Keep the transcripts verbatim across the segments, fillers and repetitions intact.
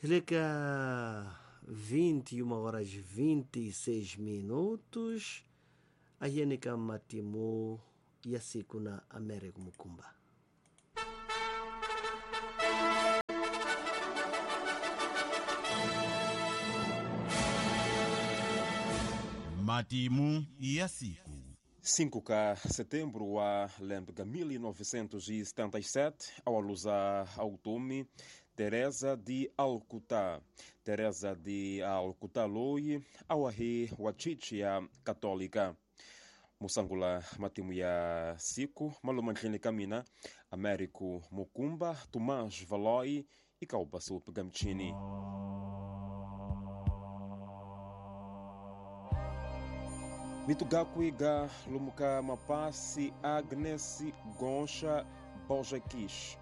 Leka vinte e uma horas vinte e seis minutos ayenika matimu ya siku na Américo Mukumba. Matimu ya siku cinco de setembro wa lembe mil novecentos e setenta e sete, ao alusa automi Teresa de Alcutá. Teresa de Alcutá loi awahi wachichia católica. Musangula matimu ya siku malumandlini kamina Américo Mukumba, Tomás Valoi e Calbasu Gamchini. Mitugakuiga lumuka mapasi Agnes Goncha Bojakish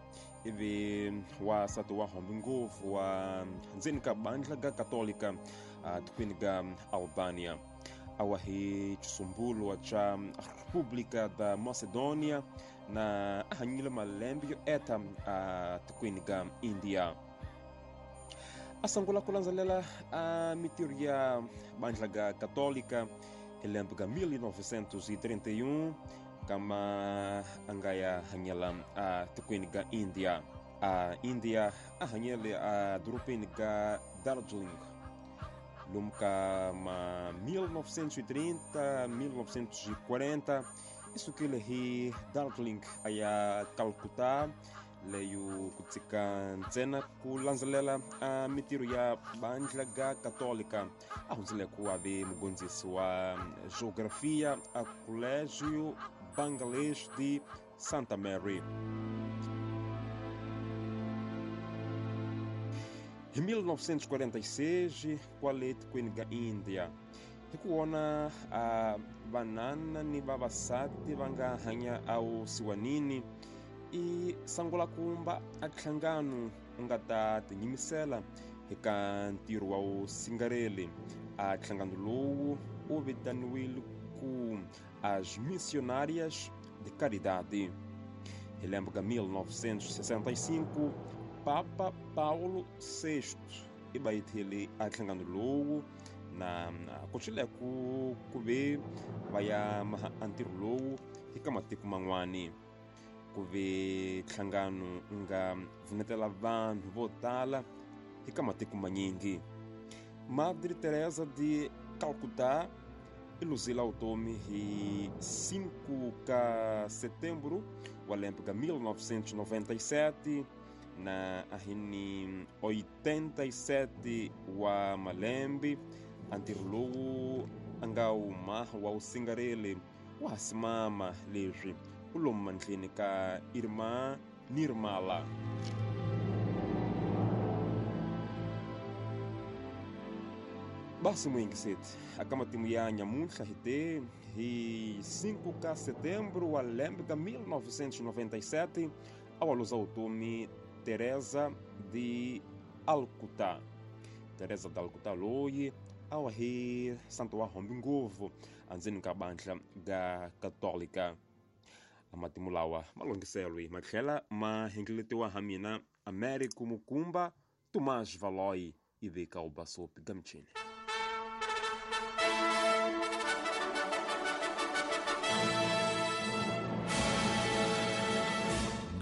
ivi wa satu wa hombi nguvu wa ndzeni ka bandla ga Católica tukwini ga Albania awahi chisumbulo cha República da Macedônia na ahanyile malembe yo eta tukwini ga India. Asangula kulandzelela a mitiro ya bandla ga Católica lembe mil novecentos e trinta e um kama angaya hanyela a tukwini ga India. A India ahanyele a dorobeni ga Darjeeling lumka ma mil novecentos e trinta mil novecentos e quarenta isukile hi Darjeeling aya Calcutta leyo kutsika ntsena kulandzelela a mitiro ya bandla ga Católica ahundzile ku ave mugondzisi wa geografia a Colégio Bangladesh de Santa Mary. Em mil novecentos e quarenta e seis, kwale tikweni ga India hikuona a vanana ni vavasati va nga hanya awusiwanini i sangula kumba a nhlangano u nga ta tinyimisela eka ntirho wa vusingareli. A nhlangano lowu wu vitaniwile ku as Missionárias de Caridade. Hi lembe ka mil novecentos e sessenta e cinco, Papa Paulo sexto i bayithile a nhlangano lowu na ku ku ku ve va ya maha a ntirho lowu eka matiko man'wani. Ku ve nhlangano nga pfunetela vanhu vo tala eka matiko manyingi. Madre Teresa de Calcutá i luzile vutomi hi cinco de setembro wa lembe ka mil novecentos e noventa e sete na ahini oitenta e sete wa malembe. A ntirho lowu a nga wuma wa wusingareli wa ha simama leswi u lomu mandleni ka Irmã Nirmala. Basi muyingiseti aka matimu ya nyamuntlha hi te hi cinco de setembro wa lembe ka mil novecentos e noventa e sete a wa luza vutomi Teresa de Alcutá. Teresa de Alcutá loyi a wa hi santo wa hombi ngopfu andzeni ka bandla ga Católica. Matimu lawa malunghiselwe ma tlhela ma hengeletiwa ha mina Américo Mukumba, Tomás Valoi e Vika Ubasopi Gamchini.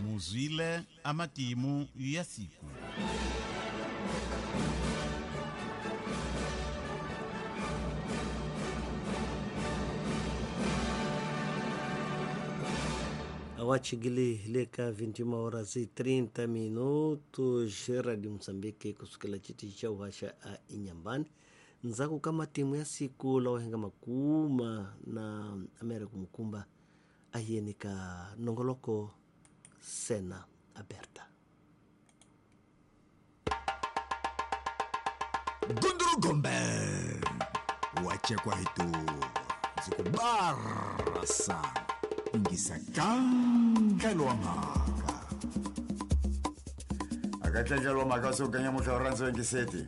Muzwile amatimu ya siku. Awachigili leka vinte e uma horas e trinta minutos, Rádio Moçambique kusukela chiti cha uhasha a Inhambane nzaku kama timu ya siku la wahenga makuma na Américo Mukumba ayenika nongoloko Cena Aberta. Gunduru Gombe wachekwa hitu zikubarasa ingisa kangelwa maka akatlengelwa maka so kanya motho rantso ngiseti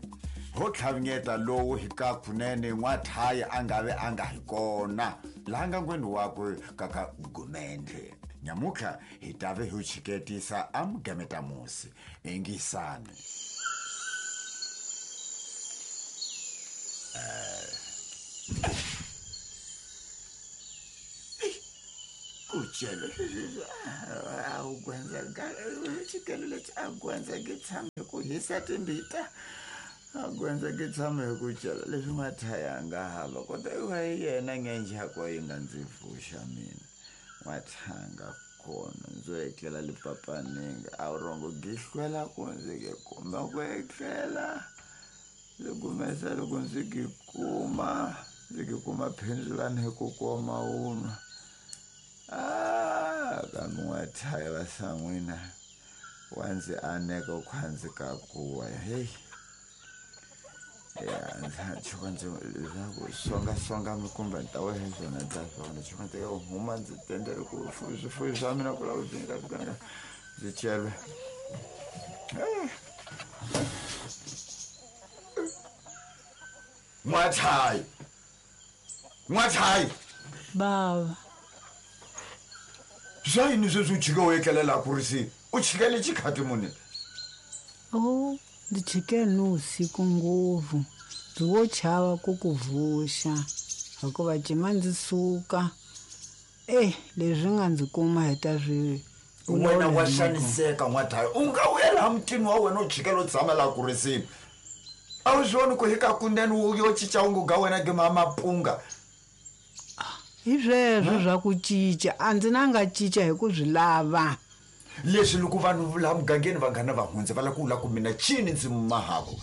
ho tlhavnyeta lowu hi ka kunene n'wathaya a nga ve a nga hi kona laha nga ngweni wakwe kaka gumende nyamutlha hi ta ve hi chiketisa a mugemeta musi ingisani. Kuchelo awugwenza xikelo lexi a gwenza ke tshame ku hisa timbita a gwenza ke tshame ku chela leswi n'wathaya nga hava kota iwa hi yena ngenjhako yi nga ndzi pfuxa mina n'wathanga kona ndzo etlela lipapaninga a wu rongo gihlwela ku ndzi ke kuma ku etlela ndzi kumesa loko ndzi ki kuma ndzi ki kuma phendzulani hi ku koma wunwa. Ah, kambe n'wathaya va san'wina wa ndzi aneka khwanzi ka kuwa heyi ya ndza tshuka ndzi leswaku songasonga mikumba ni ta wehe swona ta swona tshuka ndzi ka huma ndzi tendele ku swifuyo swa mina ku lava ku ndzi fika ndzi chelwe. N'wathaya n'wathaya bava swa yini sweswi u chike u etlelela ku ri si u chikele xikhati muni? Oh, ndzi chike ni usiku ngopfu ndzi wo chava ku ku vuxa hikuva cima ndzi suka e leswi nga ndzi kuma hi ta swi wena wa xaniseka n'wathaya u nga vuyela mutini wa wena u chikela u tshama laha ku risini a wu swi voni ku hi ka kunene wu yo cinca wu ngo ga wena ke ma mapunga hi sweswo swa ku cinca a ndzi na nga cinca hi ku swi lava leswi loko vanhu laha mugangeni vanghana va hundza va lava ku vula ku mina cini ndzi mahavo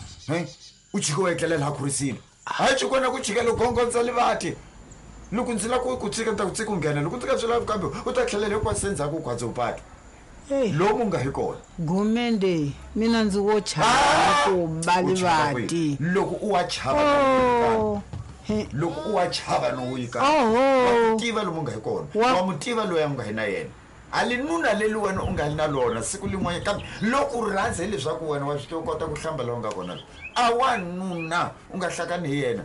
u chike u etlela laha ku risini hayi chikona ku chikela gongondza livati loko ndzi lava ku ku tshika ni ta ku tshika u nghena loko ndzi nga swi lavi kambe u ta tlhelela hinkwaswo endzhaku u khwaze u pata lomu nga hi kona gumende mina ndzi wo chava ku ba livati loko u wa chava loko u wa chava no yika wa tiva lomu nga hi kona wa mu tiva loyi a nga hi na yena a li nuna leli wena u nga li na lona siku lin'wana kambe loko u rhandza hileswaku wena wa swi tiva u kota ku hlamba laha u nga kona a wa nuna u nga hlakani hi yena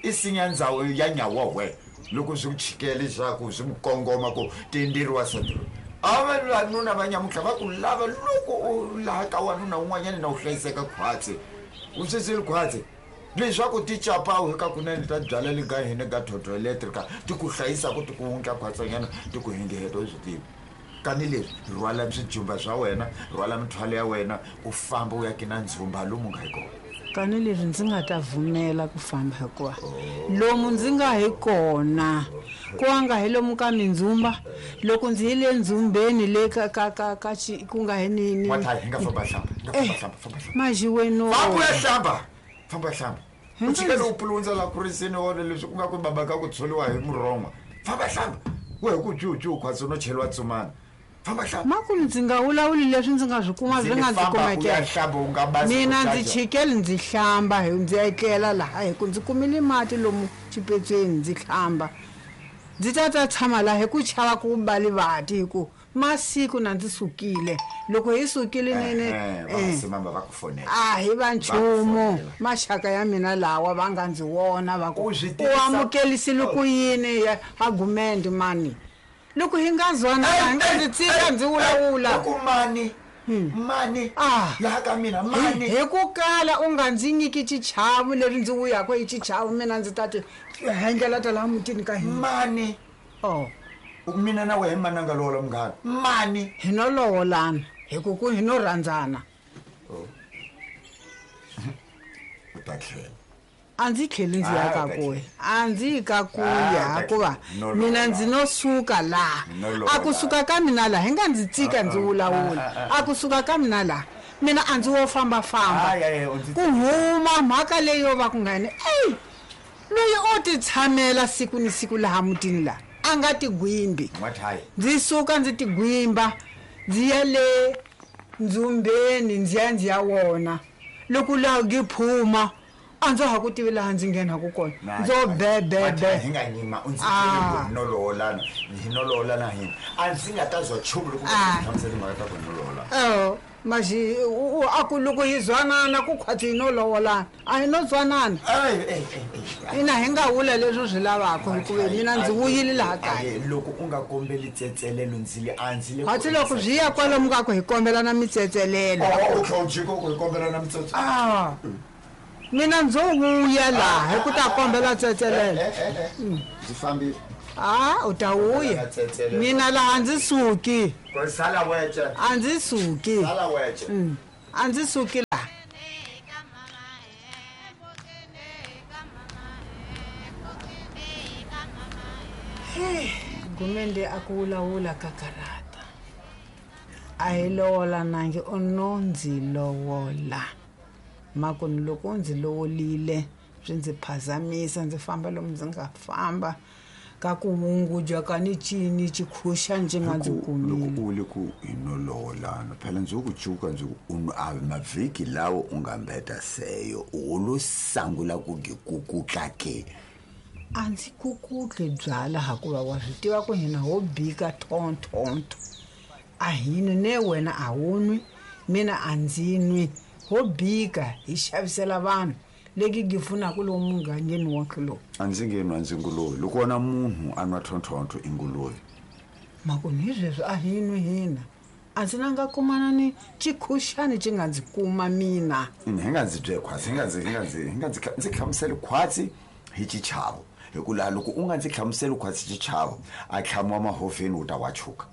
i sinya ndhawu ya nyawa we loko swi ku chikele leswaku swi mu kongoma ku tenderiwa sati a va vanuna va nyamutlha va ku lava loko u laha ka wanuna un'wanyana na u hlayiseka khwatsi u sweseli khwatsi leswaku ti capawu hi ka kunene ta byala le ga hina ga thotho electrica ti ku hlayisaka ti ku wundla khwatsanyana ti ku hingeheta u swi tivi kani leswi rhwala swijumba swa wena rhwala mithwalo ya wena u famba u ya kina ndzhumba lomu nga hi kona kani leswi ndzi nga ta vumela ku famba hikuva lomu ndzi nga hi kona ku nga hi lomu ka mindzhumba loko ndzi yile ndzhumbeni le ka ka ka ka ku nga hi ni ni hi nga famba hlamba hi nga famba hlamba famba hlamba majiweno famba ya hlamba famba hlamba u chikele u pulundza la ku risini wona leswi ku nga ku baba ka ku tsholiwa hi murhongwa famba hlamba we hi ku juju khwatsi no cheliwa tsumana famba hlamba makulu ndzi nga vulavuli leswi ndzi nga swi kuma swi nga ndzi kumekela mina ndzi chikele ndzi hlamba hi ndzi etlela laha hi ku ndzi kumile mati lomu xipetsweni ndzi hlamba ndzi ta ta tshama laha hi ku chava ku ba livati hi ku masiku na ndzi sukile loko hi sukile nene va va ku fonela a hi va nchumu maxaka ya mina lawa va nga ndzi vona va ku u amukelisile ku yini a gumende mani loko hi nga zwana hi nga ndzi tshika ndzi vulavula ku mani mani laha ka mina mani hi ku kala u nga ndzi nyiki xichavo leri ndzi vuyaka hi xichavo mina ndzi ta ti hendlela ta laha mutini ka hina mani oh mina na wehe mani a nga lovola munghana mani hi no lovolana hi ku ku hi no rhandzana u ta tlhela a ndzi tlheli ndzi ya ka kuya a ndzi yi ka kuya hikuva mina ndzi no suka laha a kusuka ka mina laha hi nga ndzi tsika ndzi vulavula a kusuka ka mina laha mina a ndzi wo fambafamba ku huma mhaka leyi yo va ku nga ni eyi loyi o ti tshamela siku ni siku laha mutini laha a nga tigwimbi ndzi suka ndzi tigwimba ndzi ya le ndzhumbeni ndzi ya ndzi ya wona loko laha ngi phuma a ndza ha ku tivi laha ndzi nghenaku kona ndzo bebebe hi nga nyima u ndzi ku no lovolana hi no lovolana hina a ndzi nga ta zwa nchumu loko u hlamusela timhaka ta ku no lovolana o maxi a ku loko hi zwanana ku khwatsi hi no lovolana a hi no zwanana ina hi nga vula leswi swi lavaka hikuva mina ndzi vuyile laha kaya loko u nga kombeli tsetselelo ndzi le a ndzi le khwatsi loko swi ya kwalomu ka ku hi kombelana mitsetselelo u tlhela u jika ku hi kombelana mitsetselo a Mina ndzo vuya laha hi ku ta kombela tsetselelo. Ndzi fambile. A u ta vuya. Mina laha ndzi suki. Sala wece. A ndzi suki. Sala wece. A ndzi suki laha. Gumende a ku vulavula ka karata. A hi lovola nangi u no ndzi lovola. Makunu loko ndzi lovolile swi ndzi phazamisa ndzi famba lomu ndzi nga famba ka ku wunguja ka ni cini xikhuxa ndzi nga ndzi kumile. Loko u le ku hi no lovolana phela ndzi ku cuka ndzi ku u a mavhiki lawo u nga mbeta seyo u lo sangula ku gikukutla ke. A ndzi kukutli byala hakuva wa swi tiva ku hina ho bika thonthonto. A hi nwi ne wena a wu nwi mina a ndzi nwi. Ho bika hi xavisela vanhu leki gi pfunaka lomu mugangeni wonkhe lowu. A ndzi nge nwa ndzi nguluve loko wona munhu a nwa thonthonto i nguluve. Makunu hi sweswo a hi nwi hina. A ndzi na nga kumana ni xikhuxani xi nga ndzi kuma mina. Hi nga ndzi bye khwatsi hi nga ndzi hi nga ndzi hi nga ndzi ndzi hlamuseli khwatsi hi xichavo. Hi ku laha loko u nga ndzi hlamuseli khwatsi xichavo a tlhamiwa mahoveni wu ta wa chuka.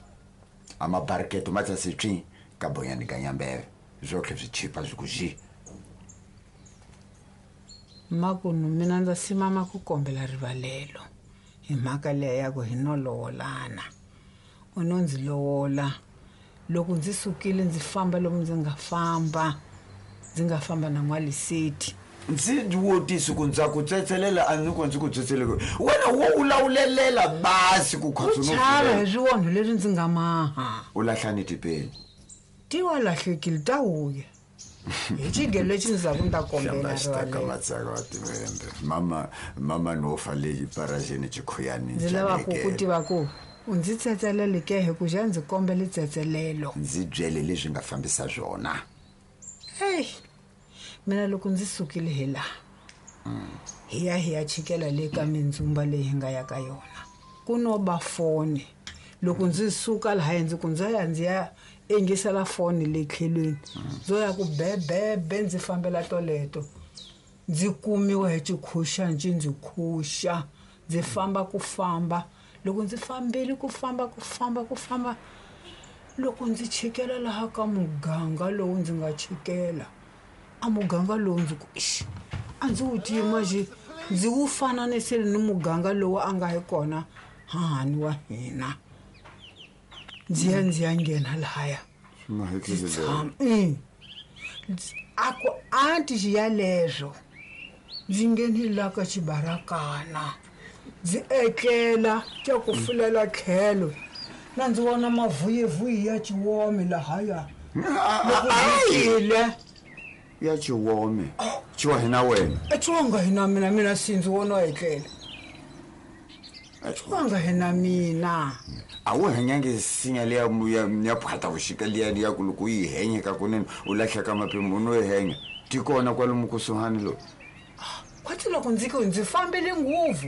A mabariketo ma tsase tswi ka bonyani ka nyambeve. Zwotlhe swi chipa swi ku xi. Makunu mina ndza simama ku kombela rivalelo hi mhaka leya ya ku hi no lovolana. U no ndzi lovola loko ndzi sukile ndzi famba lomu ndzi nga famba ndzi nga famba na n'waliseti. Ndzi wotisi ku ndza ku tsetselela a ni ku ndzi ku tsetseleke wena wo wulawulelela basi ku khotso no chava hi swiwonho leswi ndzi nga maha. U lahlani tipeni. Ti wa lahlekile ta vuya. Hi xigelo lexi ndzi zaku ni ta kombela rivalelo. Mama mama no fa leyi parajeni xikhuyani. Ndzi lava ku ku tiva ku u ndzi tsetselele ke hi ku xa ndzi kombela tsetselelo. Ndzi byele leswi nga fambisa swona. Hey. Mina loko ndzi sukile hi laha hi ya hi ya chikela le ka mindzumba leyi hi nga ya ka yona. Ku no ba foni. Loko ndzi suka laha ndzi ku ndzi ya ndzi ya engisela foni le tlhelweni. Ndzo ya ku bebebe ndzi fambela toleto. Ndzi kumiwa hi xikhuxa ndzi ndzi khuxa. Ndzi famba ku famba. Loko ndzi fambile ku famba ku famba ku famba loko ndzi chikela laha ka muganga lowu ndzi nga chikela. A muganga lowu ndzi ku ixi a ndzi wu tima xi ndzi wu fananisile ni muganga lowu a nga hi kona hahani wa hina. Ndzi ya ndzi ya nghena lahaya. A ku anti xi yaleswo ndzi nghenile la ka xibarakana ndzi etlela xa ku fulela tlhelo na ndzi vona mavuyivuyi ya xiwome lahaya. Loko ndzi ya xiwome xiwa hina wena. Xiwanga hina mina mina si ndzi vona etlela. Xiwanga hina mina. A wu henyangi sinya liya ya phata vuxika liya ya ku loko yi henyeka kunene u lahleka mapimo no yi henya ti kona kwalomu kusuhani lowu. Khwatsi loko ndzi ku ndzi fambile ngopfu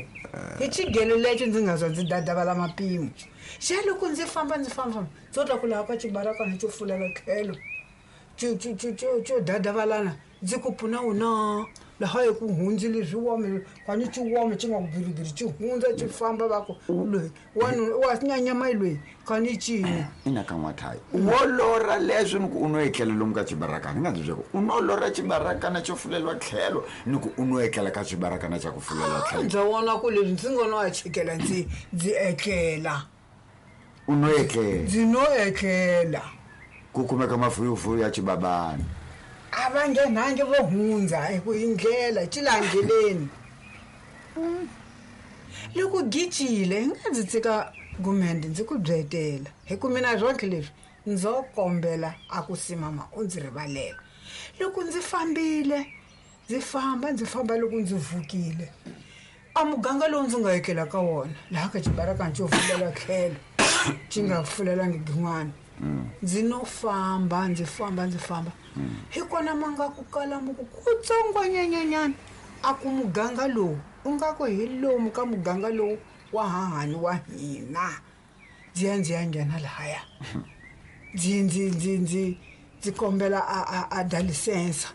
hi xigelo lexo ndzi nga zwa ndzi dadavala mapimo. Xa loko ndzi famba ndzi famba ndzo ta ku laha ka xibarakana xo fulela tlhelo xo xo xo xo dadavalana ndzi ku pfuna wona laha hi ku hundzile swiwome kwani xiwome xi nga ku biribiri xi hundza xi famba va ku loyi wanuna wa nyanyama loyi kani cini. Ina ka n'wathayi wo lorha leswi ni ku u no etlela lomu ka xibarakana ni nga ndzi byela ku u no lorha xibarakana xo fuleliwa tlhelo ni ku u no etlela ka xibarakana xa ku fuleliwa tlhelo. Ndza vona ku leswi ndzi nga no ya chikela ndzi ndzi etlela. U no etlela. Ndzi no etlela. Ku kumeka mavuyivuyi ya xibabana. A va nghenangi vo hundza hi ku indlela xi laha ndleleni. Loko gicile hi nga ndzi tshika gumende ndzi ku byetela hi ku mina swotlhe leswi ndzo kombela a ku simama u ndzi rivalela. Loko ndzi fambile ndzi famba ndzi famba loko ndzi vukile a muganga lowu ndzi nga etlela ka wona laha ka xibarakana xo fulela tlhelo xi nga fulelangi gin'wana. Ndzi no famba ndzi famba ndzi famba hi kona ma nga ku kala mu ku kutsongonyanyanyana a ku muganga lowu u nga ku hi lomu ka muganga lowu wa hahani wa hina. Ndzi ya ndzi ya nghena lahaya ndzi ndzi ndzi ndzi ndzi kombela a a a dalisensa.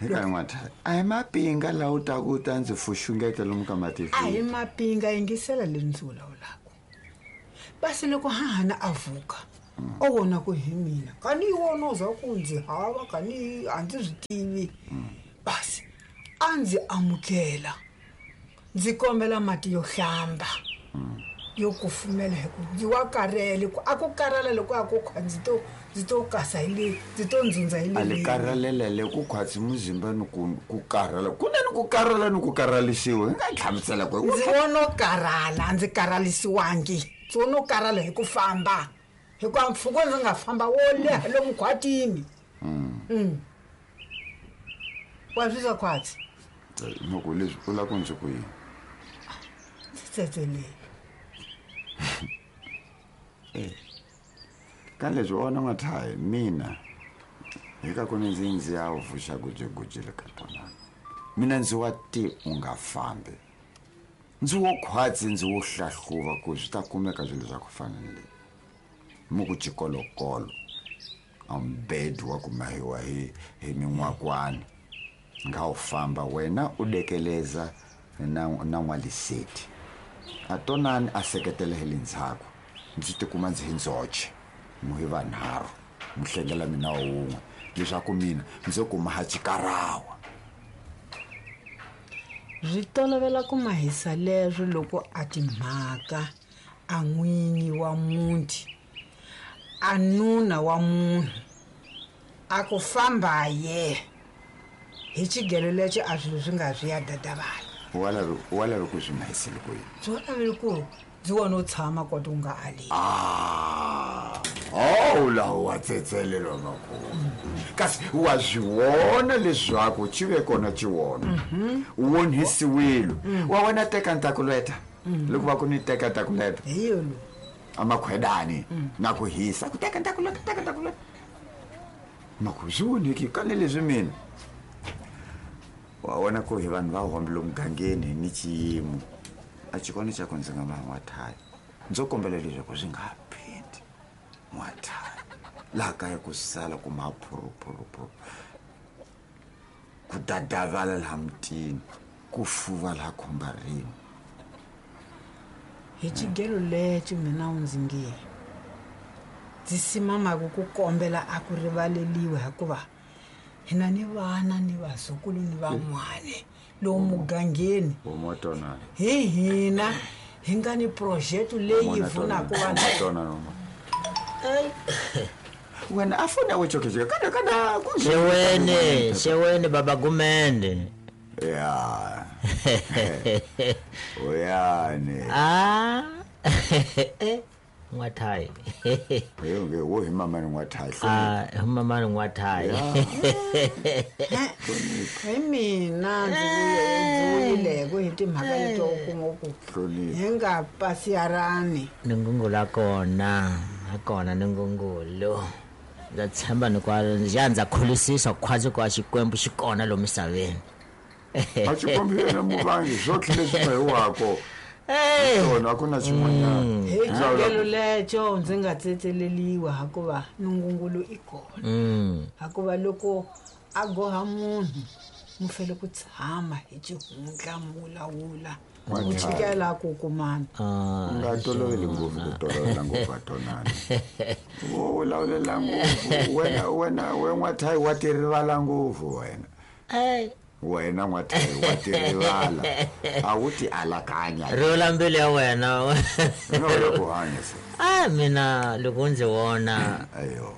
Eka n'watha a hi mapinga laha u taku u ta ndzi fuxungeta lomu ka mativi. A hi mapinga, yingisela leswi ndzi vulavulaka. Basi loko hahana a vuka o vona ku hi mina kani yi wona u za ku ndzi hava kani a ndzi swi tivi. Basi a ndzi amukela ndzi kombela mati yo hlamba yo kufumela hi ku ndzi wa karhele ku a ku karhala loko a ku khwa ndzi to ndzi to kasa hi le ndzi to ndzundza hi le. A le karhalela le ku khwatsi muzimba ni ku ku karhala ku na ni ku karhala ni ku karhalisiwa hi nga hlamusela ku ndzi vono karhala a ndzi karhalisiwangi ndzi vono karhala hi ku famba hikuva mpfhuka ndzi nga famba wo leha lomu khwatini. Mm. Wa swi swa khwatsi loko leswi u lava ku ndzi ku yini ndzi tsetselele. Eh. Ka leswi wona n'wathayi mina hi ka ku ni ndzi ndzi ya vuxa gujeguje le ka tona mina ndzi wa ti u nga fambi ndzi wo khwatsi ndzi wo hlahluva ku swi ta kumeka swilo swa ku fana ni leyi mu ku xikolokolo a mbed wa ku mahiwa hi hi min'wakwani nga u famba wena u dekeleza na na n'waliseti a tonani a seketela hi le ndzhaku ndzi tikuma ndzi hi ndzoxe mu hi vanharhu mu hlengela mina wun'we leswaku mina ndzi kuma ha xikarawa. Swi tolovela ku mahisa leswo loko a timhaka a n'winyi wa muti a nuna wa munhu a ku famba ye hi xigelo lexi a swilo swi nga swi ya dadavala. Wa lava wa lava ku swi mahisile ku yini? Byi wa laveli ku ndzi wona u tshama kota u nga ali. Ah, oh laha wa tsetselelwa makulu kasi wa swi vona leswaku xi ve kona xi wona u onhisiwile wa wena teka ntakuleta loko va ku ni teka ntakuleta hi yo lo a makhwedani na ku hisa ku teka ntakuleta teka ntakuleta maku swi voneki kani leswi mina wa vona ku hi vanhu va hombile mugangeni ni xiyimo a xi kona xa ku ndzi nga va n'wathayi ndzo kombela leswaku swi nga phindi n'wathayi laha kaya ku sala ku maphurupurupuru ku dadavala laha mutini ku fuva laha khombarini. Hi xigelo lexi mina u ndzi nge ndzi simamaku ku kombela a ku rivaleliwa hikuva hina ni vana ni vazukulu ni van'wana lowu mugangeni hi hina hi nga ni project leyi pfunaka vanhu. Wena a fona we chokejeka kana kana ku xewene xewene baba Gumende. Ya oyane ah n'wathayi yo nge wo hi mama ni n'wathayi ah hi mama ni n'wathayi hi mina ndzi vuyileko hi timhaka leto u kuma ku hi nga pasiyarani ni ngungula kona a kona ni ngungulo ndza tshemba ni kwa ya ndza kholisisa khwazi kwa Xikwembu xi kona lomu misaveni a Xikwembu yena muvangi swotlhe leswi ma hi wako swona a ku na xin'wanyana. Hi xigelo lexo ndzi nga tsetseleliwa hikuva nungungulu i kona hikuva loko a goha munhu mu fele ku tshama hi xihundla mu vulavula u chikela ku kumana. U nga toloveli ngopfu ku tolovela ngopfu a tonana wo vulavulela ngopfu wena wena we n'wathayi wa ti rivala ngopfu wena wena n'wathayi wa ti rivala a wu ti alakanya rivula mbilu ya wena no la ku hanya se a mina loko ndzi vona ayo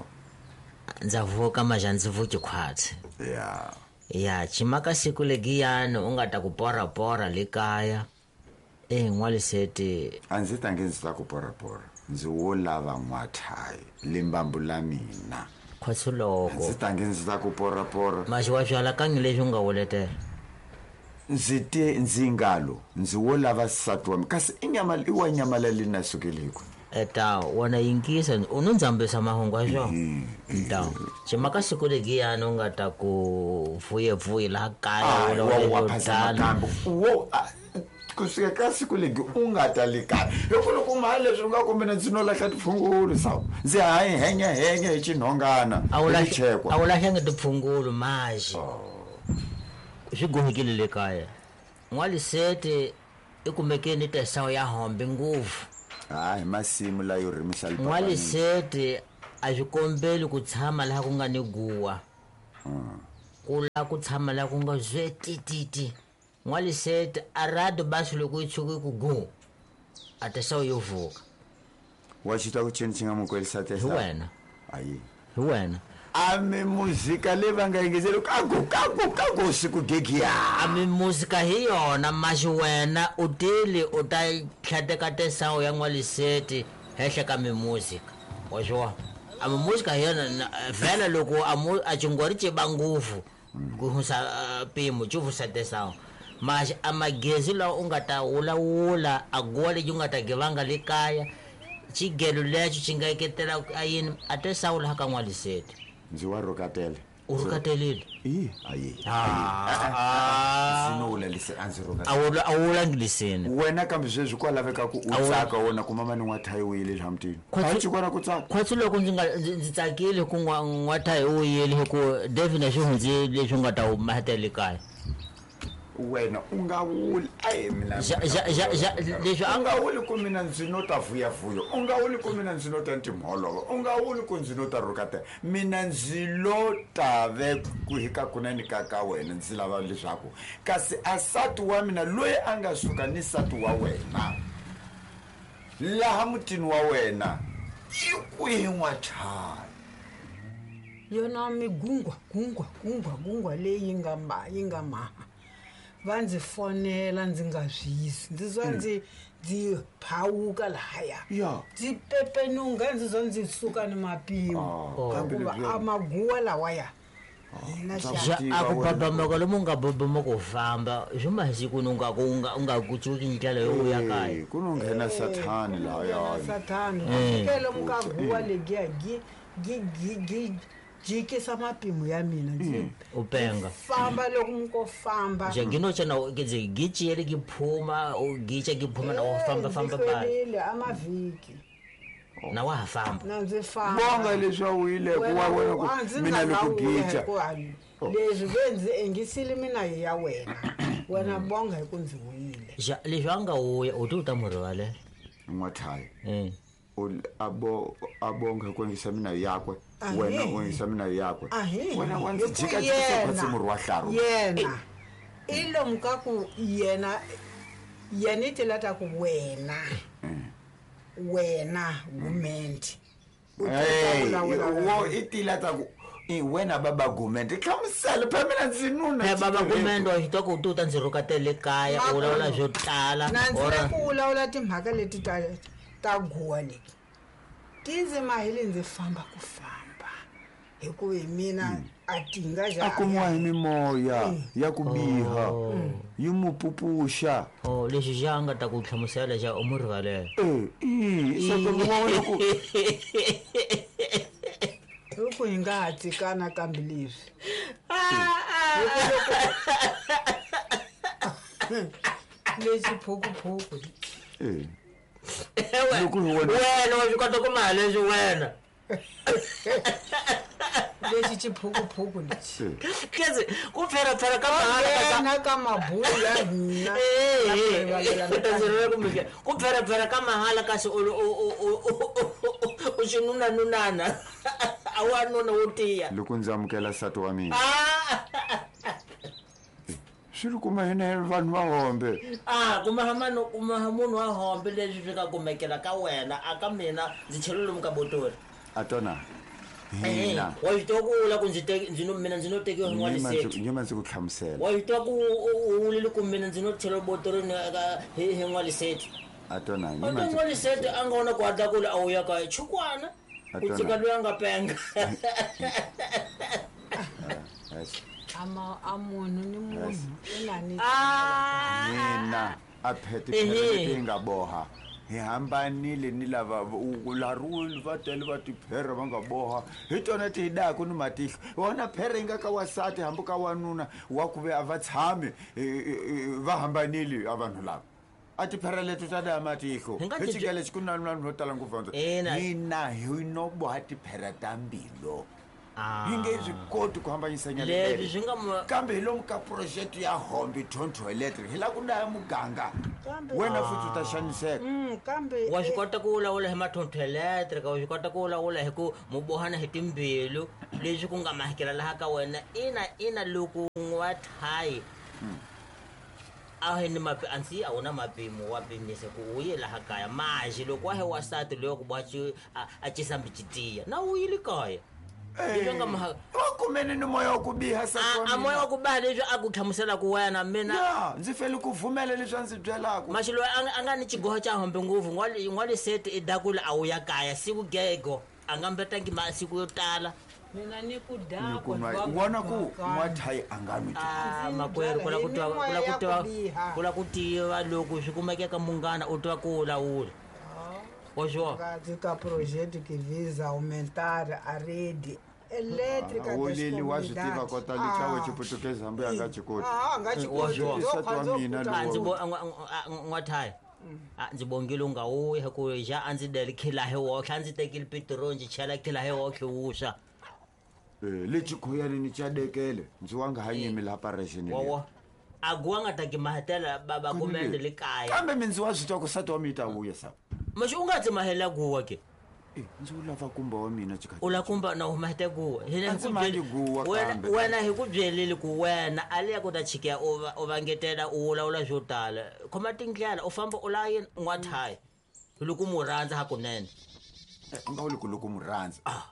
ndza vuka maja ndzi vuki khwatsi ya ya chimaka siku legiyani u nga ta ku porapora le kaya e n'waliseti a ndzi tangi ndzi ta ku porapora ndzi wo lava n'wathayi limbambu la mina khwatsi loko ndzi tangi ndzi ta ku porapora maxi wa swi alakangi leswi u nga wuletela ndzi te ndzi ngalo ndzi wo lava nsati wa mina kasi i nyama i wa nyama leyi na sukeliku eta wona yingisa u no ndzambisa mahungu ya swona nta chimaka siku legiyani u nga ta ku vuyevuye laha kaya wa phasa nakambe wo kusuka ka siku legi u nga ta le kaya loko loko mali leswi u nga kumbe ndzi no lahla tiphungulu sawu ndzi hayi henya henya hi xinhongana a wu lahlangi tiphungulu maxi swi gohekile le kaya n'walisete i kumeke ni tesawo ya hombe ngopfu hayi masimu layo rimisa n'walisete a swi kombeli ku tshama laha ku nga ni guwa ku la ku tshama laha ku nga zwetititi n'walisete a rado basi loko yi tshuke ku gu a tesawo yo vuka wa xi twa ku cini xi nga mu kwelisa hi wena ayi hi wena a mi muzika leyi va nga yingiseli kaku kaku kaku siku gegiya a mi muzika hi yona maxi wena u tile u ta tlhateka tesawo ya n'waliseti henhla ka mimuzika wa swi vona a mimuzika hi yona vhela loko a mu a cingori ci ba ngopfu ku hunsa mpimo ci vusa tesawo maxi a magezi lawa u nga ta wulawula a guwa lexi u nga ta givanga le kaya xigelo lexo xi nga eketela a yini a tesawo laha ka n'waliseti ndzi wa rhukatela u rhukatelile i ayi ndzi no wula lise a ndzi rhukatela a wu wulangi liseni wena kambe sweswi kwa laveka ku u tsaka wona ku mama ni n'wathayi u yile laha mutini a yi kona ku tsaka khwatsi loko ndzi nga ndzi tsakile ku n'wathayi u yile hi ku David na swi hundzi leswi nga ta mahetele kaya wena u nga wuli ayi mina leswi a nga wuli ku mina ndzi no ta vuyavuya u nga wuli ku mina ndzi no ta ntimholova u nga wuli ku ndzi no ta rhukatela mina ndzi lo ta ve ku hi ka kunene ka ka wena ndzi lava leswaku kasi a sati wa mina loyi a nga suka ni sati wa wena laha mutini wa wena i kwihi n'wathayi yona migungwa gungwa gungwa gungwa leyi yi nga ma yi nga maha va ndzi fonela ndzi nga zwisi ndzi zwa ndzi ndzi phawuka lahaya ndzi pepenunga ndzi zwa ndzi suka ni mapimo hikuva a maguwa lawaya a ku babamaka lomu nga babama ku famba swi masiku ni nga ku nga u nga ku cuki ndlela yo vuya kaya ku no nghena sathani lahaya sathani kele muka guwa legiya gi gi gi gi jikisa mapimo ya mina ndzi u penga famba loko muko famba nje nginotsha ndzi giciyele giphuma u gica giphuma na wa famba famba ba amavhiki na wa ha famba na ndzi famba bonga leswi a wuyile ku wa wena ku mina ni ku gica leswi ve ndzi engisile mina hi ya wena wena bonga hi ku ndzi wuyile ja leswi a nga wuya u ti u ta mu rivalela n'wathayi abo abonga ku engisa mina yakwe wena u engisa mina yakwe wena wa ndzi jika jika khwatsi murhi wa hlaru yena i lomu ka ku yena yena i tela ta ku wena wena gumende wo i tila ta ku i wena baba gumende hlamusela phela mina ndzi nuna baba gumende wa xi twa ku u ta ndzi rhukatele kaya u vulavula swo tala na ndzi le ku vulavula timhaka leti ta ta guwa leti ti ndzi mahile ndzi famba ku famba hikuva hi mina a ti nga a kumiwa hi mimoya ya ku biha yi mu pupuxa o lexi xa nga ta ku hlamusela xa u mu rivalela e i se ku wena ku loko hi nga ha tsikana kambe leswi lexi phukuphuku e wena wa swi kota ku maha leswi wena lexi xiphukuphuku lexi kezi ku pferapfera ka mahala ka mabulo ya hina ku pferapfera ka mahala kasi u u xinunanunana a wa nuna wo tiya loko ndzi amukela nsati wa mina swi ri kuma hina vanhu va hombe a kuma mano kuma munhu wa hombe leswi swi nga kumekela ka wena a ka mina ndzi chele lomu ka botori a tona hina wa yi twa ku vula ku ndzi teki ndzi no mina ndzi no tekiwa hi n'waliseti nyima ndzi ku hlamusela wa yi twa ku u vulile ku mina ndzi no chela botorini ka hi hi n'waliseti a tona nyima n'waliseti a nga wona ku hatla ku a wu ya kaya chukwana ku tshika loyi a nga penga ama a munhu ni munhu i na ni mina a phete phete leyi nga boha hi hambanile ni lava laruli va tele va tiphere va nga boha hi tona ti hi daku ni matihlo wona phere yi nga ka wasati hambi ka wanuna wa ku ve a va tshami va hambanile a vanhu lava a tiphere leto ta daya matihlo hi xigele xi ku na vanhu vo tala ngopfu hina hi no boha tiphere ta mbilo Hi nge swi koti ku hambanyisa nyana swi nga kambe hi lomu ka project ya hombi tonto electric hi la ku ndaya muganga wena futhi u ta xaniseka. Kambe wa swi kota ku vulavula hi matonto electric, wa swi kota ku vulavula hi ku mubohana hi timbilu leswi ku nga mahikela laha ka wena. Ina ina loko n'wathayi a hi ni mapi ansi a wuna mapimo wa pimisa ku u ye laha kaya maji loko wa he wasati loyo ku boha a cisambi citiya na u yile kaya. Leswi nga maha wa kumene ni moya wa ku biha sa a moya wa ku biha leswi a ku hlamusela ku wena mina ya ndzi fele ku vumela leswi a ndzi byelaka. Maxi loyi a nga ni xigoho xa hombe ngopfu n'waliseti i dakula a wu ya kaya siku gego a nga mbetangi masiku yo tala. Mina ni ku dakwa vona ku n'wathayi a nga nwi. A makwerhu ku la ku twa ku la ku twa ku la ku tiva loko swi kumekeka munghana u twa ku lawula. Ka projeto que visa aumentar a rede elétrica das comunidades. Wa swi tiva kota lichawe chiputukezi hambi a nga chikoti. A nga chikoti. Ndzi bo n'wathayi ndzi bongile u nga wuyi hi ku ja a ndzi deli khila hi woxe a ndzi tekile petiroli ndzi chela khila hi woxe wuswa. Lexi khoyani ni chadekele ndzi wa nga ha nyimi laha parexini. A guwa nga ta ki mahetela baba kumende le kaya. Kambe mindzi wa swi twa ku sati wa mi ta vuya sa. Maxi u nga tsi mahela guwa ke? Ndzi u lava kumba wa mina chikati. U la kumba na u mahete guwa. Hina hi ku guwa kambe. Wena hi ku byelile ku wena a le ku ta chikeya u va u vangetela u vulavula swo tala. Khoma tindlela u famba u la yini n'wathayi. Loko mu rhandza hakunene. U nga vuli ku loko mu rhandza. Ah.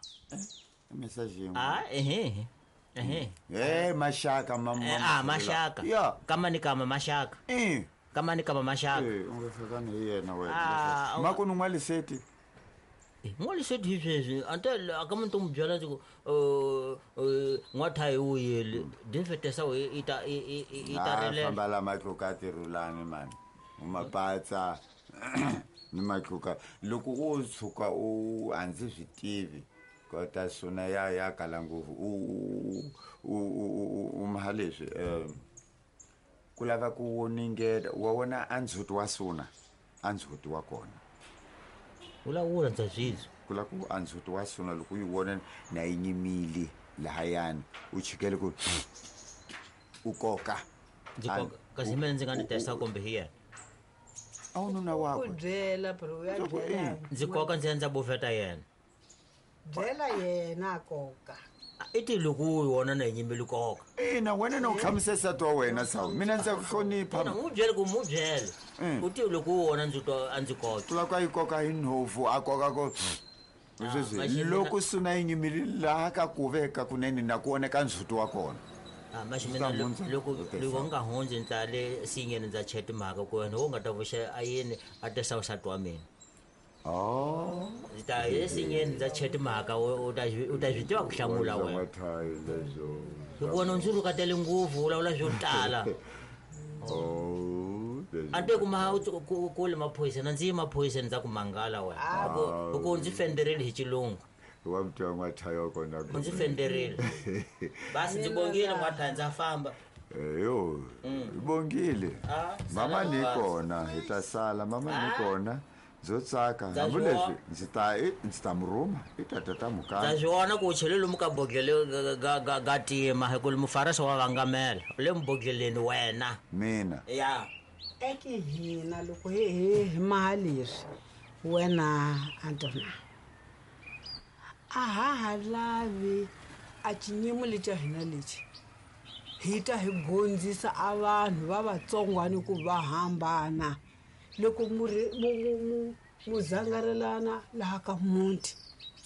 Message yin'we. Ah ehe. Ehe. Eh maxaka mama. Ah maxaka. Kama ni kama maxaka. Eh. Kama ni kama maxaka. Eh u nga hlekani hi yena wena. Mako ni n'waliseti. N'waliseti hi sweswi ante a ka muntu mu byela ndzi ku n'wathayi wu yile dinfetesa i ta i ta rilela. Famba la matluka tirulani mani. U mapatsa ni matluka loko u tshuka u a ndzi swi tivi. Kota sona ya ya kala ngopfu u u u maha leswi ku lava ku woningela wa wona a ndzhuti wa sona a ndzhuti wa kona. Vulavula ndza swizwa. Ku lava ku a ndzhuti wa sona loko u yi vona na yi nyimile lahayani u chikele ku u koka. Ndzi koka kasi mina ndzi nga ni testa kumbe hi yena. A wu nuna wakwe. Ku byela bro u ya byela. Ndzi koka ndzi endla bufeta yena. Byela yena koka. I ti loko u wona na yinyimeli koka. Ina wena na u hlamusela nsati wa wena sawu. Mina ndza ku hlonipha. Mu byele ku mu byele. U ti loko u wona ndzi twa a ndzi koka. Ku lava ku yi koka hi nhovu a koka ko. Sweswi loko suna yi nyimile laha ka ku veka kunene na ku oneka ndzhuti wa kona. Ah maxi mina loko loko nga hundzi ndza le sinyeni ndza cheti mhaka ku wena u nga ta vuxa a yini a tesa nsati wa mina. Oh. Ndzi ta ye sinyeni ndza cheti mhaka u ta u ta swi tiva ku hlamula wena. Loko wena u ndzi rhukatele ngopfu u vulavula swo tala. Oh. Ante ku ma ku le maphorisa na ndzi ye maphoriseni ndza ku mangala wena. Ku ndzi fenderile hi xilungu. Wa mutwa n'wathayi wa kona. U ndzi fenderile. Basi ndzi bongile n'wathayi ndza famba. Yo, bongile. Mama ni kona hi ta sala mama ni kona. Ndzo tsaka hambi leswi ndzi ta ndzi ta murhuma i ta tata mukaya. Ndza swi vona ku u chele lomu ka bodlele ga ga ga tima hi ku mufarasi wa vangamela u le mubodleleni wena. Mina. Ya. Eki hina loko hi hi hi maha leswi wena Antona a ha ha lavi a xinyimo lexi xa hina lexi hi ta hi gondzisa a vanhu va vatsongwani ku va hambana loko mu mu mu zangarelana laha ka muti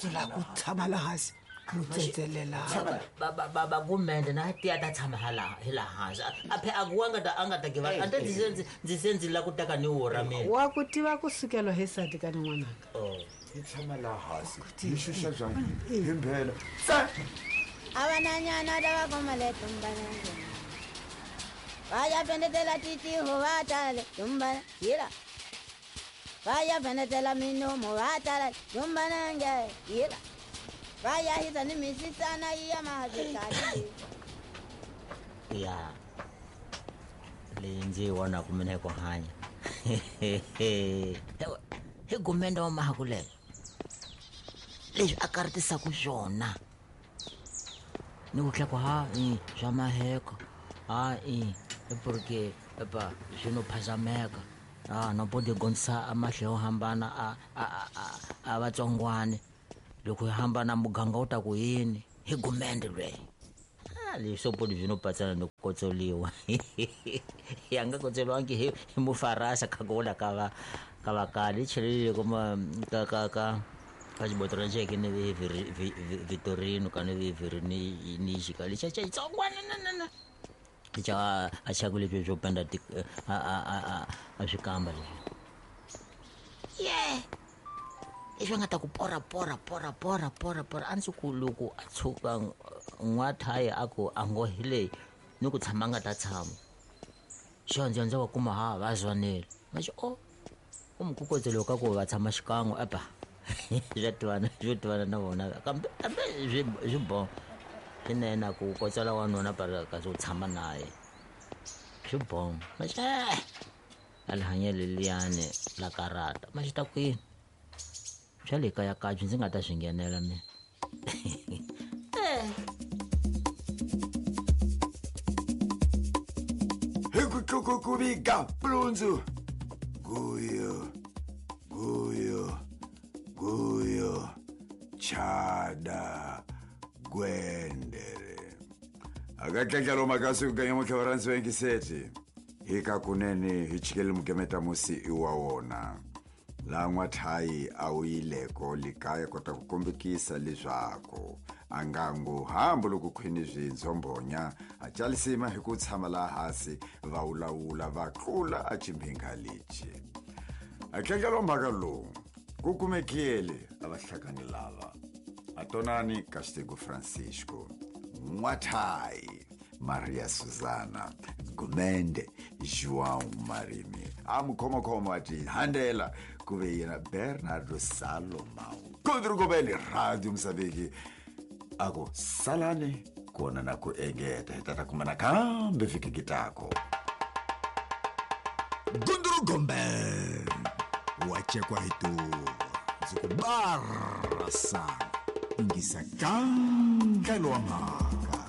ku lava ku tshama laha hansi mu tsetselelana. Ba ba gumende na tiya ta tshama hala hi laha hansi a phe a ku nga ta a nga ta give a ndzi se ndzi se ndzi la ku teka ni wura mina. Wa ku tiva ku sukela hi sati ka n'wananga. Oh. Hi tshama laha hansi hi xuxa bya hi mbhela. Sa Abananyana lava komale tumbana. Vaya vendetela titi ho vatale tumbana yira. Vaya vendetela minomo vatale tumbana nge yira. Vaya hisa ni misisana iya mahazikali. Ya. Leyi ndzi yi vonaka mina hi ku hanya. Hi gumende wa mahakulela. Leswi a karhatisaka swona. Ni ku tlha ku ha i swa maheko ha i porque epa swi no phazameka a no pode gonsa amahle yo hambana a a a a vatsongwane loko hi hambana muganga wu ta ku yini hi gumende lweyi a leswo podi byi no patsana ni ku kotsoliwa ya nga kotsoliwangi hi hi mufarasa kha ku vula ka va ka vakali chelelile kuma ka ka ka ka xibotolo xeke ni Vitorino ka ni vi ni xika lexa xa xitsongwana na na na xa a xaku leswi swo penda a a a a swikamba leswi ye leswi a nga ta ku pora pora pora pora pora pora a ndzi ku loko a tshuka n'wathayi a ku a ngo hi leyi ni ku tshama a nga ta tshama xo ndzi ndzi va kuma ha va zwanile ma xi o u mukukotse loko ka ku va tshama xikan'we epa swa tivana swo tivana na vona kambe kambe swi swi bo swinene ku kotsela wanuna kasi u tshama naye swi bo ma xi a li hanyelo liyani la karata ma xi ta kwini swa le kaya kabyi ndzi nga ta swi nghenela mina. Hi ku tlukukuviga plundzu guyo guyo guyo chada gwendere akatlatlalo makasi kuganya mukhevaransi wengiseti hika kunene hi chikele mukemeta musi iwa wona la n'wathayi a wu yileko likaya kota ku kombekisa leswaku a nga ngo hambi loko khwini swindzombonya a calisima hi ku tshama laha hansi va wulawula va tlula a chimbhinga lexi a tlangelo mhaka lowu ku kumekile a va hlakani lava atonani Castigo Francisco n'wathayi Maria Susana Gumende João Marimi a mukhomakhoma a ti handela ku ve yena Bernardo Salomão Kodrugobeli Radio Mozambique a ku salani kona na ku engeta hi tata kuma nakambe vhiki kitako Gundrugombe wa chekwa hi tuva ndzi ku barasa ingisa kangalo wa mhaka.